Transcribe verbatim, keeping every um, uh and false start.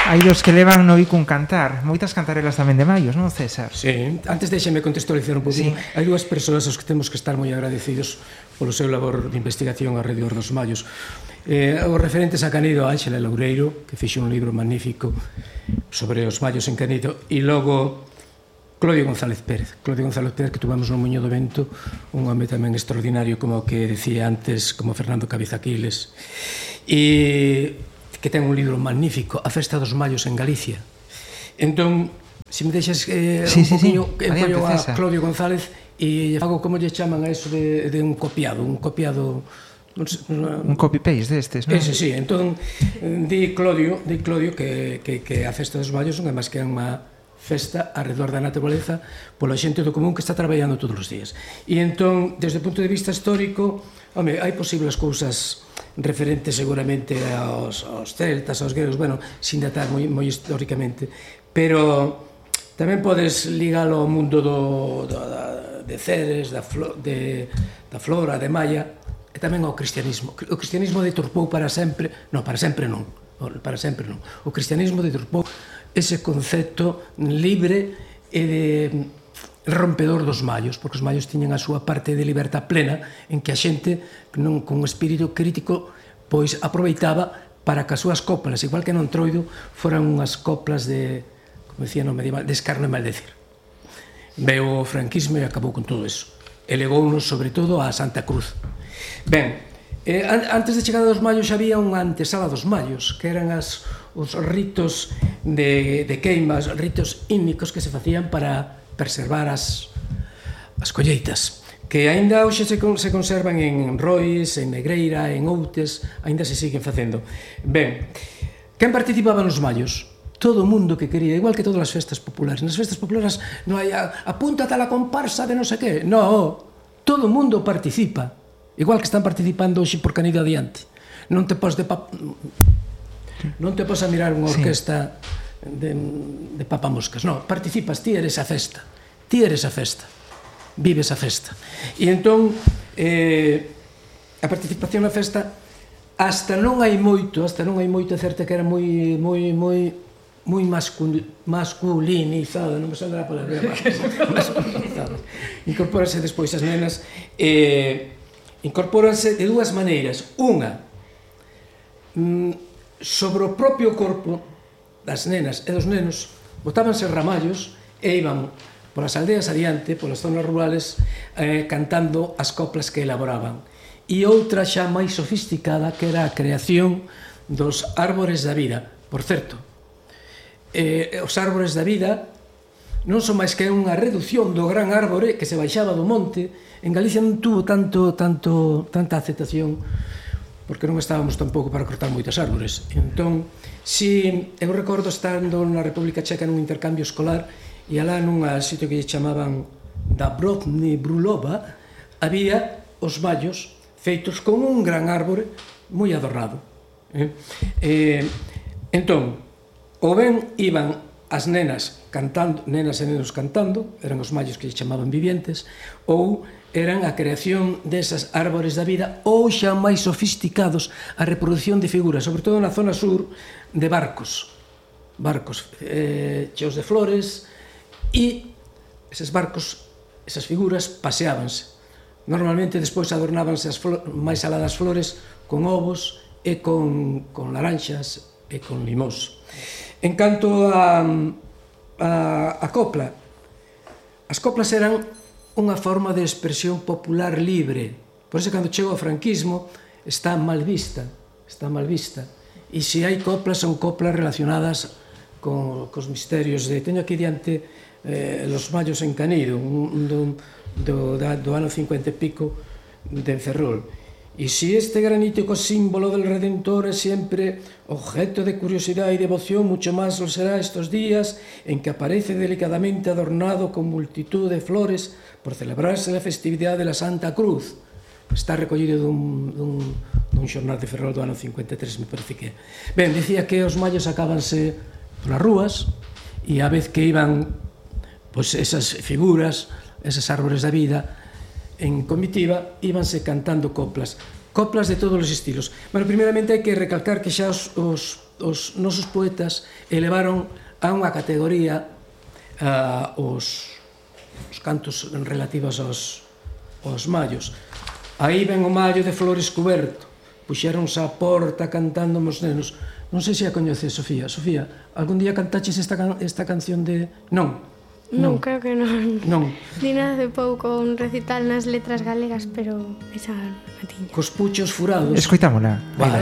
hai dos que levan no bico un cantar. Moitas cantarelas tamén de Maios, non, César? Sí, antes deixeme contextualizar un pouquinho. Sí. Hai dúas persoas aos que temos que estar moi agradecidos polo seu labor de investigación alrededor dos Maios. Eh, os referentes a Canido, Ánxela Loureiro, que fixe un libro magnífico sobre os Maios en Canido, e logo Clodio González Pérez. Clodio González Pérez, que tuvamos no Muño do Vento, un home tamén extraordinario, como que decía antes, como Fernando Cabizaquiles, e que ten un libro magnífico, A Festa dos Maios en Galicia. Entón, se me deixas eh, sí, un sí, poquinho, sí. empollo a César. Clodio González e fago como lle chaman a eso de, de un copiado, un copiado... Non sei, un copy-paste destes, non? Ese, sí. Entón, di Clodio, di Clodio que, que, que a Festa dos Maios non é máis que unha festa arredor da naturaleza pola xente do común que está traballando todos os días. E entón, desde o punto de vista histórico, home, hai posibles cousas referentes seguramente aos, aos celtas, aos gregos, bueno, sin datar moi, moi históricamente, pero tamén podes ligalo ao mundo do, do, da, de Ceres, da, flo, de, da flora, de Maya, e tamén ao cristianismo. O cristianismo deturpou para sempre, non, para sempre non, para sempre non. O cristianismo deturpou ese concepto libre e de rompedor dos maios, porque os maios tiñan a súa parte de libertad plena en que a xente non con espírito crítico pois aproveitaba para que as súas coplas, igual que non Troido, foran unhas coplas de, como decía no medieval, de escarno e maldecir. Veo o franquismo e acabou con todo eso. E legounos sobre todo a Santa Cruz. Ben, eh, antes de chegada dos maios había unha antesala dos maios, que eran as os ritos de, de queimas, ritos ínicos que se facían para preservar as, as colleitas, que aínda hoxe se, se conservan en Rois, en Negreira, en Outes, aínda se siguen facendo. Ben, quen participaba nos maios? Todo o mundo que quería, igual que todas as festas populares. Nas festas populares non hai apúntate a la comparsa de non sei que, non, todo o mundo participa, igual que están participando hoxe por Canido adiante. Non te pos de pap... non te pos a mirar unha orquesta sí. de, de papamoscas, non, participas, ti eres a festa, ti eres a festa, vives a festa. E entón, eh, a participación na festa, hasta non hai moito, hasta non hai moito, é certo que era moi, moi, moi, moi masculinizada, non me sale a palabra, masculinizada. Incorpórase despois as nenas, eh, incorpóranse de dúas maneiras. Unha, mm, sobre o propio corpo das nenas e dos nenos botábanse ramallos e iban polas aldeas adiante, polas zonas rurales, eh, cantando as coplas que elaboraban. E outra xa máis sofisticada, que era a creación dos árbores da vida. Por certo, eh, os árbores da vida non son máis que unha reducción do gran árbore que se baixaba do monte. En Galicia non tuvo tanto, tanto, tanta aceptación porque non estábamos tampouco para cortar moitas árbores. Entón, si eu recordo estando na República Checa nun intercambio escolar e alá nun sitio que lle chamaban da Brodny Brulova, había os maios feitos con un gran árbore moi adornado. Eh? Eh, entón, ou ben iban as nenas cantando, nenas e nenos cantando, eran os maios que lle chamaban vivientes, ou eran a creación desas árbores da vida, ou xa máis sofisticados a reproducción de figuras, sobre todo na zona sur, de barcos, barcos eh, cheos de flores, e eses barcos, esas figuras, paseábanse. Normalmente despois adornábanse as máis aladas flores con ovos e con, con laranxas e con limós. En canto a, a, a copla, as coplas eran unha forma de expresión popular libre. Por iso, cando chega o franquismo, está mal vista, está mal vista. E se hai coplas, son coplas relacionadas con, cos misterios de... Teño aquí diante eh, Los Maios en Canido, un, do, do, do ano cincuenta e pico de Ferrol. E se este granítico símbolo del Redentor é sempre objeto de curiosidade e devoción, mucho máis lo será estos días en que aparece delicadamente adornado con multitud de flores por celebrarse la festividade de la Santa Cruz. Está recollido dun, dun, dun xornal de Ferrol do ano cincuenta e tres, me parece que. Ben, dicía que os maios sacábanse polas rúas e a vez que iban pois, esas figuras, esas árbores da vida, en comitiva, íbanse cantando coplas. coplas de todos os estilos. Bueno, primeiramente hai que recalcar que xa os, os, os nosos poetas elevaron a unha categoría uh, os, os cantos relativos aos, aos mallos. Aí ven o mallo de Flores Cuberto, puxéronse á porta cantando os nenos. Non sei se a coñeces, Sofía. Sofía, algún día cantaches esta, can esta canción de... Non? Non, creo que non. Non. Din hace pouco un recital nas letras galegas, pero esa non a tiña. Cos puchos furados. Escoitámola. Vale.